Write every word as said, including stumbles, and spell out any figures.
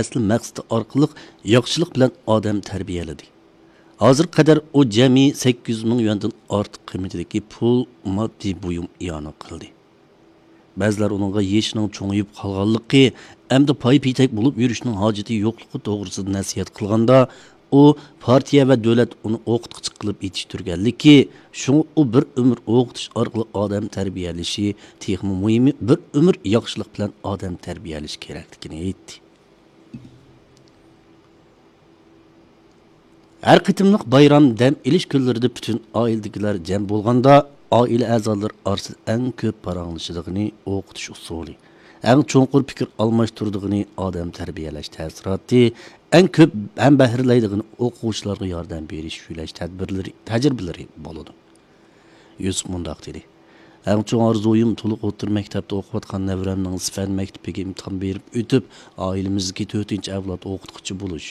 ئەسلى مەقسىتى ئارقىلىق ياخشىلىق بىلەن ئادەم تەربىيەلىدى. ھازىرغا قەدەر ئۇ جەمئىي سەككىز يۈز مىڭ يۈەندىن ئارتۇق قىممىتىدىكى پۇل، ماددىي بۇيۇم ئىئانە قىلدى. بەزىلەر ئۇنىڭغا يېشىنىڭ چوڭىيىپ قالغانلىقى، ئەمدى پاي-پېتەك بولۇپ يۈرۈشنىڭ ھاجىتى يوقلۇقى توغرىسىدا نەسىھەت قىلغاندا، ئۇ، پارتىيە ۋە دۆلەت ئۇنى ئوقۇتقۇچى قىلىپ يېتىشتۈرگەنلىكى، شۇڭا ئۇ بىر ئۆمۈر ئوقۇتۇش ئارقىلىق ئادەم تەربىيەلىشى تېخىمۇ مۇھىمى، بىر ئۆمۈر ياخشىلىق بىلەن ئادەم تەربىيەلىشى كېرەكلىكىنى ئېيتتى. ھەر قېتىملىق بايرام، دەم ئېلىش كۈنلىرىدە پۈتۈن ئائىلىدىكىلەر جەم بولغاندا، ئائىلە ئەزالىرى ئارىسىدا ئەڭ كۆپ پاراڭلىشىدىغىنى ئوقۇتۇش ئۇسۇلى، ئەڭ چوڭقۇر پىكىر ئالماشتۇرىدىغىنى ئادەم تەربىيەلەش تەسىراتى، ئەڭ كۆپ ھەمبەھىرلەيدىغىنى ئوقۇغۇچىلارغا ياردەم بېرىش، يۆلەش تەدبىرلىرى، تەجرىبىلىرى بولىدۇ. يۈسۈپ مۇنداق دېدى: «ئەڭ چوڭ ئارزۇيۇم تولۇق ئوتتۇرا مەكتەپتە ئوقۇۋاتقان نەۋرەمنىڭ سىفەن مەكتىپىگە ئىمتىھان بېرىپ ئۆتۈپ، ئائىلىمىزدىكى تۆتىنچى ئەۋلاد ئوقۇتقۇچى بولۇش.